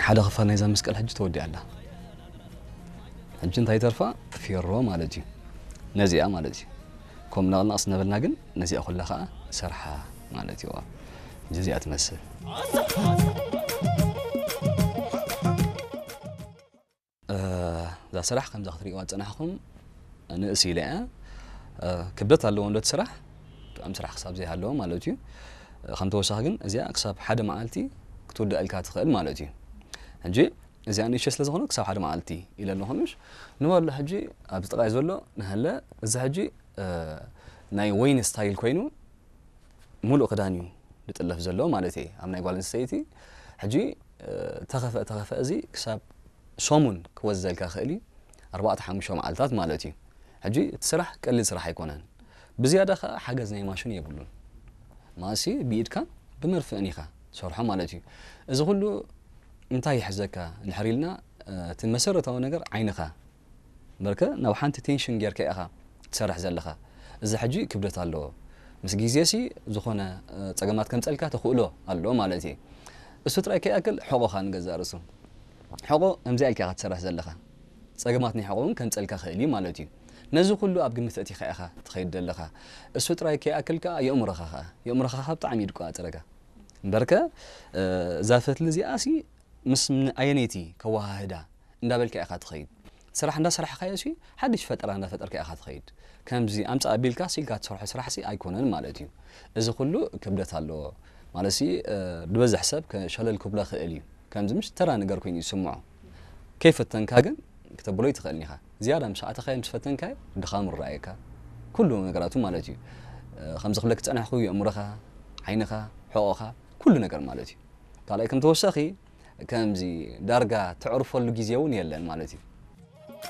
ሓደ ክፋል ናይዛ መስቀል ሕጂ ተወዲኣ ኣላ። ሕጂ እንታይ ተርፋ? ፌሮ ማለት እዩ። ነዚኣ ማለት እዩ። ከም ናቕናቕስ ነበልና ግን ነዚኣ ኩላ ከዓ ሰርሓ ማለት እዩ። ሕጂ እዚኣ ትመስል። እዛ ስራሕ ከምዛ ክትርእይዋ ዝጸናሕኹም ንእስ ኢለ እያ። ክብደት ኣለዎ እንዶ እቲ ስራሕ፣ ጥዑም ስራሕ ክሳብ ዘይሃለዎ ማለት እዩ። ከም ተወሳኺ ግን እዚኣ ክሳብ ሓደ መዓልቲ ክትውዳእልካ ትኽእል ማለት እዩ። ሕጂ እዚኣ ንእሽቶ ስለ ዝኾነ ክሳብ ሓደ መዓልቲ ኢለ ኣለኹ ምሽ ንበሎ። ሕጂ ኣብዚ ጥቓይ ዘሎ ንሃለ፣ እዚ ሕጂ ናይ ወይን ስታይል ኮይኑ ሙሉእ ክዳን እዩ ዝጥለፍ ዘሎ ማለት እየ። ኣብ ናይ ጓል ኣንስተይቲ ሕጂ ተኸፈ ተኸፈ እዚ ክሳብ ሰሙን ክወዘልካ ክእል እዩ። ኣርባዕተ ሓሙሽተ መዓልታት ማለት እዩ። ሕጂ እቲ ስራሕ ቀሊል ስራሕ ኣይኮነን። ብዝያዳ ከዓ ሓገዝ ናይ ማሽን የብሉን። ማሲ ብኢድካ ብመርፍእን ኢኻ ትሰርሖ ማለት እዩ። እዚ ኩሉ እንታይ ይሕዘካ እንድሕር ኢልና፣ እቲ መሰረታዊ ነገር ዓይንኻ እምበርከ ናብ ሓንቲ ቴንሽን ጌርካ ኢኻ ትሰርሕ ዘለኻ። እዚ ሕጂ ክብደት ኣለዎ። ምስ ግዜሲ ዝኾነ ጸገማት ከምጸልካ ተኽእሎ ኣሎ ማለት እዩ። እሱ ጥራይ ከይኣክል ሕቖኻ ንገዛእ ርእሱ። ሕቖ ከምዚኣ ኢልካ ኢኻ ትሰርሕ ዘለኻ። ጸገማት ናይ ሕቖ እውን ከምጸልካ ክእል እዩ ማለት እዩ። ነዚ ኩሉ ኣብ ግምት ኣእቲኻ ኢኻ ትኸይድ ዘለኻ። እሱ ጥራይ ከይኣክል ከኣ የእምሮኻ ከኣ፣ የእምሮኻ ከኣ ብጣዕሚ እዩ ድቋ ኣጽረካ። እምበርከ እዛ ፈትሊ እዚኣሲ ምስ ኣየነይቲ ከወሃህዳ እንዳበልካ ኢኻ ትኸይድ። ስራሕ እንዳሰራሕካዮ ሲ ሓድሽ ፈጠራ እንዳፈጠርካ ኢኻ ትኸይድ። ከምዚ ኣምጻእ ኣቢልካ ሲልካ ትሰርሖ ስራሕ ሲ ኣይኮነን ማለት እዩ። እዚ ኩሉ ክብደት ኣለዎ ማለት ሲ ዝበዝሕ ሰብ ሸለል ክብሎ ክእል እዩ። ከምዚ ምሽ ተራ ነገር ኮይኑ ይስምዖ። ከይፈተንካ ግን ክተብሎ ይትኽእል ኢኻ። ዝያዳ ምስ ኣተኻዮ ምስ ፈተንካዮ ድኻም ይረኣየካ። ኩሉ ነገራቱ ማለት እዩ። ከምዚ ክብለክ ዝጸናሕኩ የእምሮኻ፣ ዓይንኻ፣ ሕቖኻ፣ ኩሉ ነገር ማለት እዩ። ካልኣይ ከም ተወሳኺ ከምዚ ዳርጋ ተዕርፈሉ ግዜ እውን የለን ማለት እዩ።